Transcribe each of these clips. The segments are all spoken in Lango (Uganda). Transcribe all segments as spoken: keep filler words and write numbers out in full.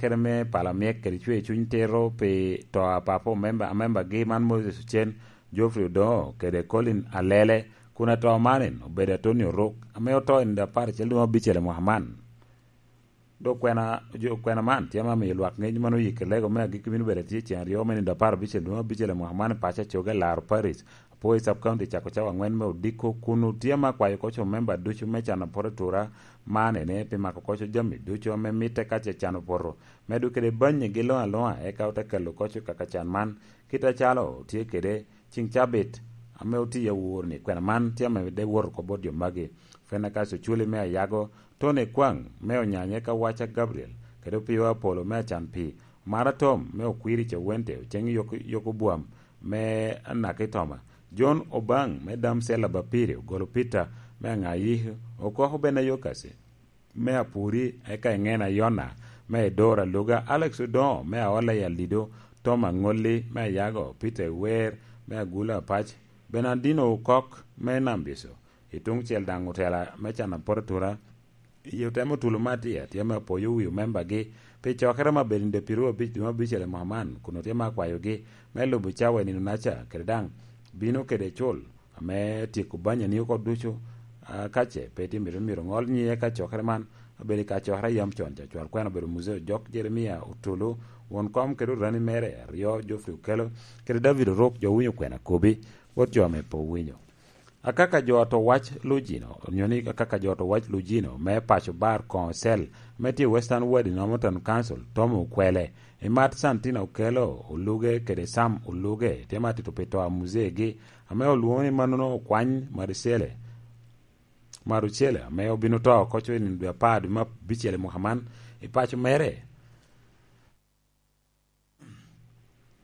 kede me pala myek kede cwer cuny tito pi to a papa omemba, amembagi man Moses Ocen, Geoffrey Odongo kede Colin Alele, kun ato man en obedo Atoni Oruk, ame oto i nino apar acel dwe me abicel i mwaka man. Dok kwena, jo, kwena man tye ame miyo lwak ngec man oyik i lego me agikki bino bedo atye cen aryo me nino apar abicel dwe me abicel i mwaka man i paco Acoga, Laro Parish, Apwoyo Sub County, cako cawa angwen me odiko, kun otye ame akwayo koc omemba ducu me cano poto atura man ene pi mako koc jami ducu ame mitte ka ce cano poto, medo kede banyegi luŋ aluŋa, eka ote kelo koc kaka can man, kit acalo otye kede ciŋ cabit ame otye awor-ni. Kwena man tye ame de wot oko bot jo magi: Fenekas Oculi me Ayago, Tony Ekwaŋ me Onyanya, eka Waca Gabriel, kede Opio Apolo me Acan Pii, Omara Tom me Okwiri Cewente, Oceŋ Yok-, Yokobwam me Anaki Toma, John Obaŋ me Damsel Abapirio, Golo Peter me Aŋayi, Okoko Benayo Kasi me Apuri, eka Eŋena Yona me Edora Luga, Alex Odoŋo me Aola i Alido, Tom Aŋolli me Ayago, Peter Ewer me Agula Apac, Bernardino Okok me Nambiso, i tuŋ cel daŋ otela me cano apot atura, i otemo tulo me atir, tye ame apwoyo wi omembagi pi cokere me abedo nino pyeraryo abic dwe me abicel i mwaka man, kun otye ame akwayogi me lubo cawa i nino-naca, kede daŋ bino kede cul ame tyeko banyani oko ducu. A, ka ce pe tye mito, myero oŋol nyiye ka cokere man obedo i kacokere a yam con ca. Cwal kwena obedo Muzee Ojok, Jeremia Otulu, won kom kede orani mere aryo, Geoffrey Okello kede David Oruk, jo owinyo kwena kobi bot jo ame pe owinyo. Akaka jo a to wac Lujino, onyo ni akaka jo a to wac Lujino me paco bar koŋ ocel me tye i Western Ward i Northern Council, Tom Okwele, Imat Santina Okello Oluge kede Sam Oluge, tye ma atito pi to a muzegi, ame olwoŋo ni mannono Okwany Marucele, Marucele, ame obino to koco i nino dwe apar dwe me abicel i mwaka man, i paco mere.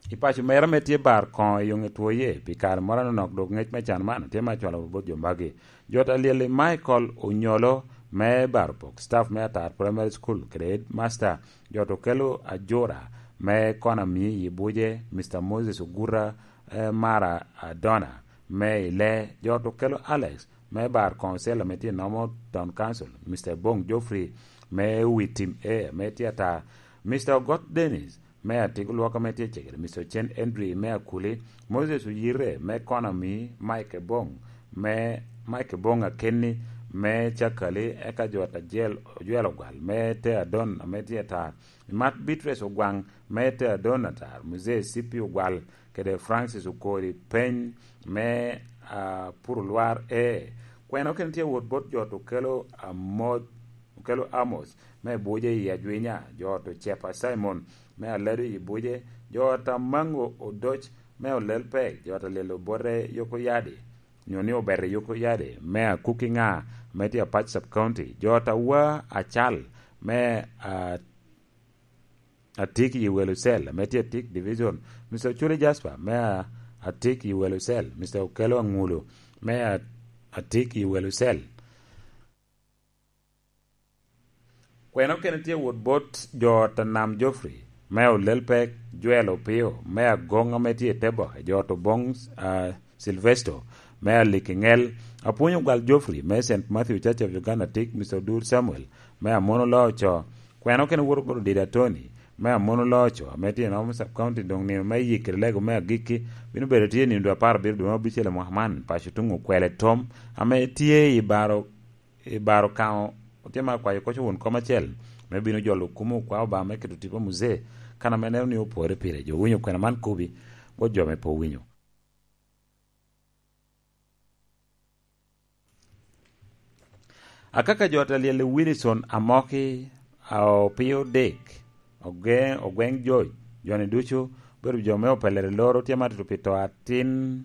I paco mere ame tye bar koŋo i yoŋe twoye pi kare moro anonok, dok ngec me can man tye me acwalo bot jo magi. Jot alyel i Michael Onyolo me Barpok, staff me Atar Primary School kede headmaster, jot Okello Ajura me Konami i Buje, Mister Moses Ogura, eh, Mara Adona me Ile, jot Okello Alex me bar council ame tye i Northern Council, Mister Bong Geoffrey me wi tim A ame tye ata, Mister Ogot Dennis me Atik Olwok ame tye cegere, Mister Ocen Henry me Akuli, Moses Oyire me Konami, Mike Ebong me, Mike Ebong Akenni me Cakali, eka jot Ajel Ojwel Ogwal me Te Adon ame tye ata, Imat Beatrice Ogwaŋ me Te Adon ata, Mzee Sipi Ogwal kede Francis Okori Peny me, ah, Purulwar A. Kwena okene tye wot bot jot Okello Amo-, Okello Amos me Buje i Ajwinya, jot Ocepa Simon me Alado i Buje, jot Amango Odoc me Olelpek, jot Alyel Obote Yokoyadi, nyo ni Obete Yokoyadi me Akuki Ŋa me tye Apac Sub County, jot Awa Acal me, ah, Atik i Welucel, ame tye Atik Division, Mister Ochuli Jasper, me a-, Atik i Welucel, Mister Okello Aŋulu, me a-, Atik i Welucel. Kwena okene tye wot bot jot Anam Geoffrey, me Olelpek, Joel Opio, me Agoŋ ame tye i Teboke, jot Oboŋ, ah, Silvesto, me Aliki Ŋel, Apwony Ogwal Geoffrey, me Saint Matthew Church of Uganda, Atik, Mister Odur Samuel, me Amono Loco, Kwena okene woto bot Odida Tony, me Amono Loco, ame tye i Northern Sub County, doŋ nino me yikere lego me agikki bino bedo tye i nino dwe apar abiro dwe me abicel i mwaka man, paco tuŋ Okwele Tom, ame tye i baro, i baro Kaŋo, otye ma akwayo koc won kom acel, me bino jolo kumo okwa Obama me keto tipo Muzee, kan ame neno ni opore pire. Jo winyo kwena man kobi, bot jo me pe owinyo. Akaka jot alyel i Wilson Amoki, a Opio Dick, Oge-, Ogweng George, joni ducu obedo jo me opelere loro tye ma tutu pi to atin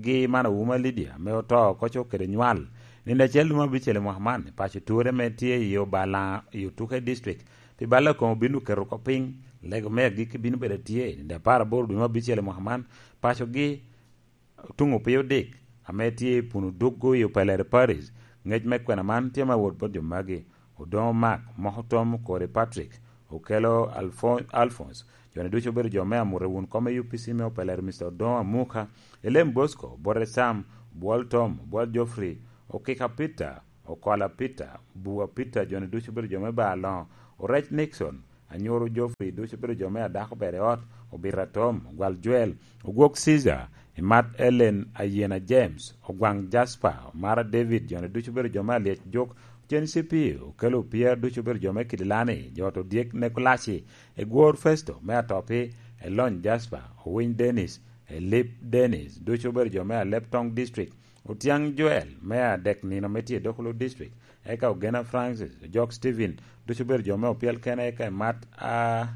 gi man Ouma Lydia, ame oto koco kede nywal. Nino acel dwe me abicel i mwaka man, i paco Ture ame tye i Obalaŋa i Otuke District, pi balla koŋ obino keto oko piny, lego me agikki bino bedo atye, nino apar aboro dwe me abicel i mwaka man, pacogi Otuŋ Opio Dick, ame tye i Puno Duggo i Opelere Parish, ŋec me kwena man tye me awot bot jo magi: Odoŋo Mark, Moko Tom, Okori Patrick, Okello Alfo-, Alphonse, joni ducu obedo jo me amute wun kom me U P C me Opelere, Mister Odoŋo Amuka, Elem Bosco, Bote Sam, Obwol Tom, Obwol Geoffrey, Okika Peter, Okola Peter, Bua Peter, joni ducu obedo jo me Bar Loŋo, Orec Nixon, Anyuru Geoffrey ducu obedo jo me adako ber i ot, Obito Atom, Ogwal Joel, Ogwok Caesar, Imat Ellen, Ayena James, Ogwaŋ Jasper, Omara David, jo-ni ducu obedo jo me Alyec Juk, Ocen Cipio, Okelo Opia, ducu obedo jo me Kidilani, jo ot Odyek Nekolaci, Egwor Festo me Atopi, Elony Jasper, Owiny Dennis, Elip Dennis, ducu obedo jo me Alep Toŋ District, Otiaŋ Joel me Adek Nino me tye i Dokolo District, eka Ogena Francis, Ojok Stephen, ducu obedo jo me Opyel Kene, eka Imat a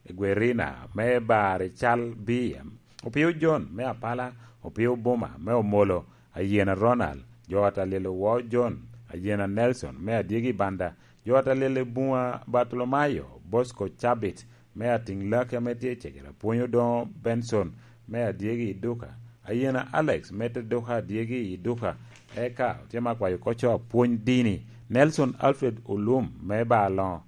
Egwerina me Bari Cal B M, Opio John me Apala, Opio Buma me Omolo, Ayena Ronald, jo ot Alyel Owo John, Ayena Nelson me Adyegi Banda, jo ot Alyel Ebunga Bartolomayo, Bosco Cabit me Atiŋ Lake ame tye i Cegere, Apwony Odoŋo Benson me Adyegi i Duka, Ayena Alex me te Duka Adyegi i Duka, eka otye me akwayo koco Apwony Dini, Nelson Alfred Olum me Bar Loŋo,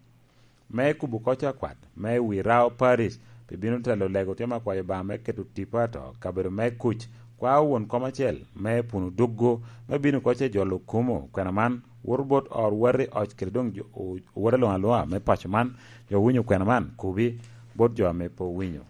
me kubo koc akwat me Wirao Parish, pi bino telo lego tye me akwayo Obaŋa me keto tipo ato kabedo me kuc, kwao won kom acel me Puno Duggo, me bino koc e jolo kumo kwena man, woto bot ot wati oc kede doŋ jo, o-, owote luŋ aluŋa me paco man, jo owinyo kwena man, kubi bot jo ame pe owinyo.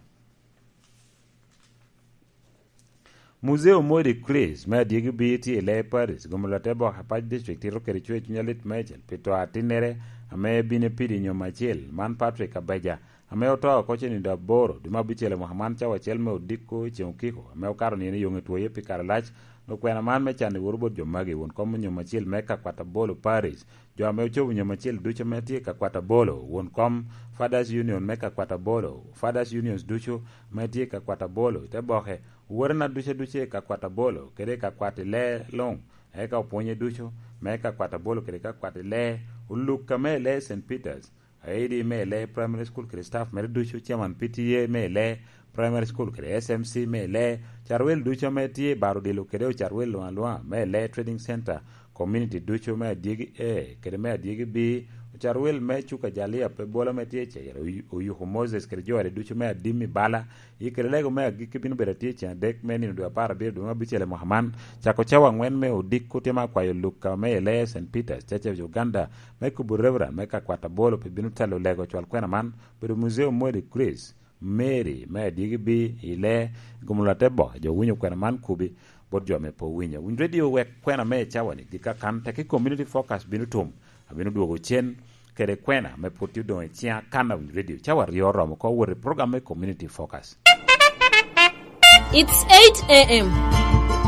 Muzeo Modi Chris me Adyegi Bii tye i Lee Parish, gomolo te bok Apac District tito kede cwer cuny alit meicel pi to atinnere ame bino pidi nyom acel, man Patrick Abeja, ame oto oko ce nino aboro, dwe me abicel i mwaka man cawa acel me odiko i ceŋ okiko, ame okato nino i yoŋe twoye pi kare alac, okwena man me can i woro bot jo magi, won kom nyom acel me Kakwat Abolo Parish, jo ame ocobo nyom acel ducu ame tye i Kakwat Abolo, won kom Fathers Union me Kakwat Abolo, Fathers Unions ducu ame tye i Kakwat Abolo, i te boke, owotena ducu aducu i Kakwat Abolo, kede i Kakwat i lee luŋ, eka opwonye ducu, me Kakwat Abolo kede Kakwat i lee, oluk ame i lee Saint Peters, aidi me i lee Primary School kede staff mere ducu, chairman P T A me i lee Primary School kede S M C me i lee, carwel ducu ame tye i baro odilo kede ocarwel luŋ aluŋa me i lee Trading Center, community ducu me Adyegi A kede me Adyegi B, ocarwel me Cuka Jalia pe bolo ame tye i Cegere, Oyu-, Oyuku Moses kede jo ade ducu me Adim i Bala, i kede lego me agikki bino bedo atye i ceŋ adek me nino dwe apar abiro dwe me abicel i mwaka man, cako cawa aŋwen me odiko tye me akwayo Luka me i lee Saint Peters, Church of Uganda, me kubo Reverend me Kakwat Abolo pi bino telo lego cwal kwena man, bedo Muzeo Modi Chris, Mary me Adyegi Bii i lee, gomolo ate boke, jo winyo kwena man kubi, bot jo ame pe owinyo. Winy redio wek kwena me cawa-ni gik akan, teki Community Focus bino tum, abino dwogo cen kede kwena me pwod tye odoŋo i ciŋa kan a Winy redio. Cawa aryo oromo oko wot i program me Community Focus. It's eight a m.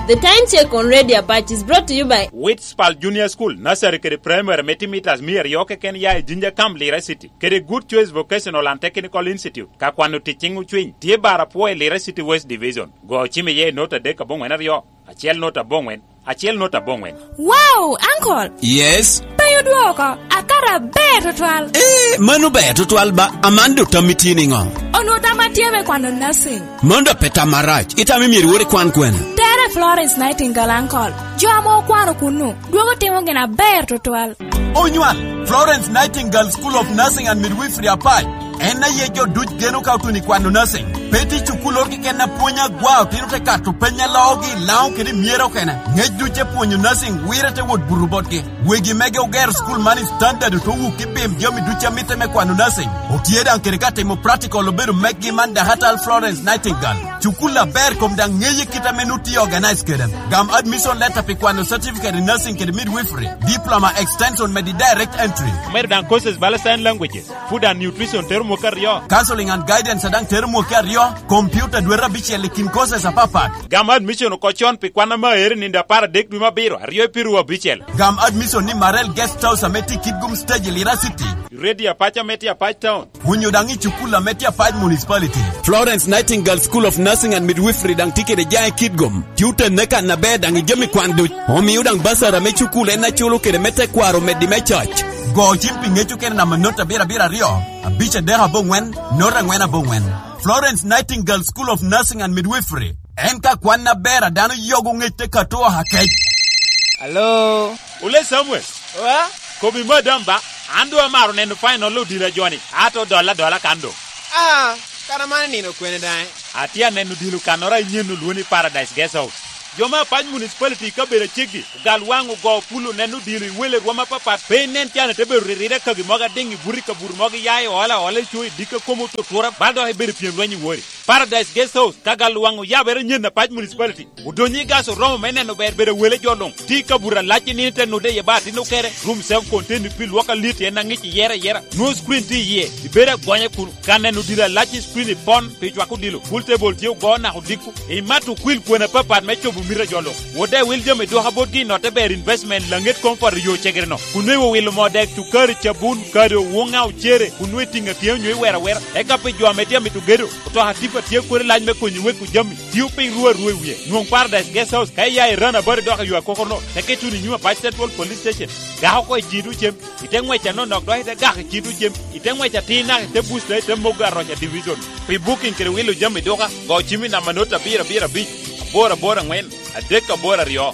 The time check on Radio Apache is brought to you by Witspal Junior School, Nursery kede Primary, me tye mitas mia aryo keken ya i Jinja Camp, Lira City, kede Good Choice Vocational and Technical Institute. Ka kwano tic ciŋ ocwiny, tye bar apwo i Lira City West Division. Go cim iye i not adek aboŋwen aryo, acel not aboŋwen, acel not aboŋwen. Wow, uncle! Yes? Pe odwoko, akato aber tutwal. Eh, mano ber tutwal ba, aman do tammi tye niŋo? Onwo tam atye me kwano nursing. Mano da pe tam marac, itamo myero iwor ikwan kwene? Tere Florence Nightingale, uncle. Jo ame okwano kunnu, dwogo timo gin aber tutwal. Onywal, Florence Nightingale School of Nursing and Midwifery Apac. En aye jo duc geno ka otun i kwano nursing. Pe tye cukul oro keken a pwony agwa, otino te kato peny a loogi i Laŋo kede i Myero okene. Ŋec duc e pwonyo nursing wire te wot buto botgi. Wegi mege ogero cukul man i standard, oto wuk i bim jami duc a mitte me kwano nursing. Otye daŋ kede ka timo practical obedo meggi man Dahatal Florence Nightingale. Cukul aber kom daŋ ŋeye kit ame nu tye organize kede. Gam admission letter pi kwano certificate in nursing kede midwifery, diploma extension medi direct entry. Omedo daŋ courses bala sign languages, food and nutrition tero mwaka aryo. Counseling and guidance daŋ tero mwaka aryo, computer dwete abicel i kin courses apapat. Gam admission oko con pi kwan ame aero i nino apar adek dwe me abiro, aryo i piru abicel. Gam admission ni Marel Guest House ame tye i Kitgum Stage i Lira City. Radio Apac ame tye Apac Town. Onyo daŋ i cukul ame tye Apac Municipality. Florence Nightingale School of Nursing and Midwifery daŋ tye kede jaŋ i Kitgum. Tye otenne kan aber daŋ i jami kwan duc. Omio daŋ basara me cukul en aculo kede me tekwaro meddi me coc. Go cim pi ŋec okene namba not abiro abiro aryo, abic adek aboŋwen, not aŋwen aboŋwen. Florence Nightingale School of Nursing and Midwifery. En ka kwan aber a dano yogo ŋec te kato oha kec. Alo? Ole Samuel. Wa? Kobi madam ba, an doŋ amaro neno final odilo a joni, ato dolla adola kan doŋ. Ah, kara man nino kwene daŋ? Atye aneno odilo kannoro anyen olwongo ni Paradise Guest House. Jo me Apac Municipality i kabedo aceggi, ogal waŋ ogo pul oneno odilo i wele rwom apapat, pe inen can ite bedo ririre kagi mogo adiŋ i buto i kabuto mogo iya i ola ola i co i dikka kom otutura, bal dok ibedo pyem lweny i wori. Paradise Guest House, ka gal waŋ oyabere nyen Apac Municipality, odonyo i gas oromo me neno ber bedo wele jo luŋ. Ti kabuto alac i nino te nude iye ba atino kere, room self contained pi lwok alit en aŋic iyere ayera. Nwoŋo screen tye iye, ibedo agonya kun ka neno odilo alac i screen ipon pi cwako odilo. Pool table tye ogo naka odiko. Imato okwil kwena apapat me cobo mito a jo luŋ. Wodde wil jami dwoka botgi i notte ber investment laŋet comfort i yo cegere-no. Kun nwoŋo iwilo moo dek, cukari, cabun, kado, woŋa, ocere, kun nwoŋo itiŋo atyeo nyo iwero awera. Eka pi jo ame tye amito gedo, otoka tipa tye kodi lac me konyo weko jami. Tio piny ru arua i wie. Nwoŋ Paradise Guest House ka iya i Rana Bari dok i yo akokono, teke tuno i nyim Apac Central Police Station. Gak oko i cito cem, ite ŋwec anonok dok ite gak i cito cem, ite ŋwec atir naka ite buc dok ite mogo aroc a division. Pi booking kede wilo jami duka, go cim i namba not abiro abiro abic, aboro aboro aŋwen, adek aboro aryo.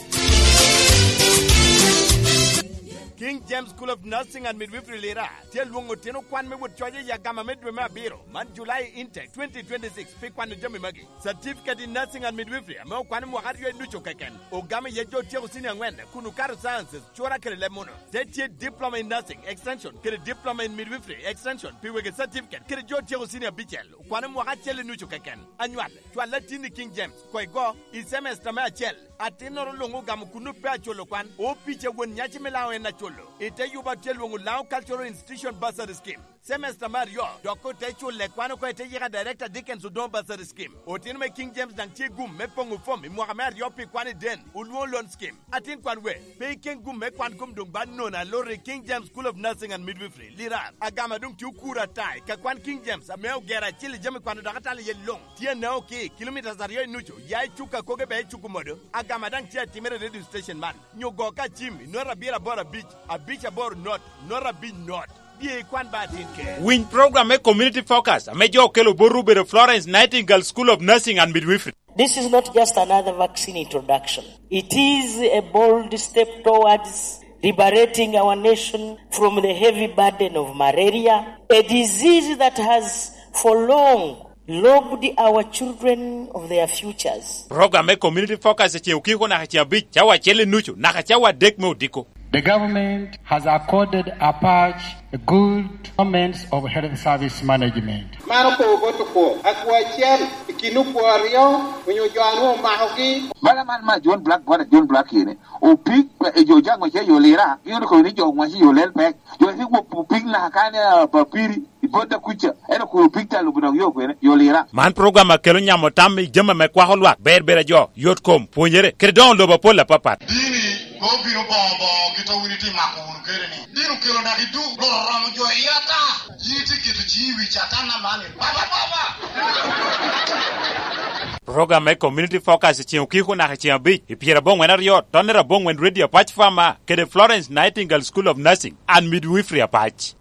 King James School of Nursing and Midwifery Lira tye alwoŋo otino kwan me wot coc i agama me dwe me abiro, man July intake twenty twenty-six, pi kwano jami magi. Certificate in Nursing and Midwifery ame okwano mwaka aryo i nucu keken, ogamo iye jo otyeko senior angwen kun okato sciences, cura kede leb muno. Te tye Diploma in Nursing Extension kede Diploma in Midwifery Extension pi wegi certificate kede jo otyeko senior abicel, okwano mwaka acel i nucu keken. Anywal, cwal latin i King James, koi go, i semester me acel. Atinnoro luŋ ogamo kuno pe aculo kwan, opic a won nyaci me Laŋo en aculo. I te yuba tye lwoŋo Laŋo Cultural Institution Bursary Scheme. Semester me aryo, dok ote culle kwan oko i te yika Director Dickens Odongo Bursary Scheme. Otino me King James daŋ tye gum me poŋo fom i mwaka me aryo pi kwan i den, olwoŋo loan scheme. Atin kwan we, pe iken gum me kwan kom doŋ ba nono aloti i King James School of Nursing and Midwifery, Lirar. Agama doŋ tye okuro ata i ka kwan King James ame ogero acil i jami kwano dok atalo iye luŋ. Tye anao ki kilomitas aryo i nucu, ya i cuk akoge bea i cuk omodo. Agama daŋ tye atimere i radio station man. Nyo go ka cim i not abiro aboro abic, abic aboro not, not abic not. Bye ikwan ba atin ker. Winy program me Community Focus ame jo okelo botwu obedo Florence Nightingale School of Nursing and Midwifery. This is not just another vaccine introduction. It is a bold step towards liberating our nation from the heavy burden of malaria, a disease that has for long robbed our children of their futures. Program me Community Focus eceŋ okiko naka ceŋ abic, cawa acel i nucu naka cawa adek me odiko. The government has accorded Apac a good performance of health service management. Man okobo bot okwo, akwo acel i kin okwo aryo onyo jo a nwoŋo omakogi. Bala man ma John Black, bot a John Black ene, opik, e, jo jaŋ wace yo Lira, gin okobo ni jo wace yo Lelpek, jo wace gwok opik naka kane, a, Papiri, i bot a kuca, en okobo opik talo budok yo kwene, yo Lira. Man program a kelo nyamo tam i jami ame kwako lwak, ber ber a jo, yot kom, pwonyere, kede doŋo lobo apol apapat. Dini, pe obino boŋo boŋo kit a wun itye mako wunu kede ni. Dini okelo naki duk, loro romo jo i ata. Yin itye keto ciŋi i wi Catan aman ni, "Baba, Baba!" Program me Community Focus i ceŋ okiko naka i ceŋ abic, i pyerabongwen aryo, tonnere abongwen Radio Apac Farmer, kede Florence Nightingale School of Nursing and Midwifery Apac.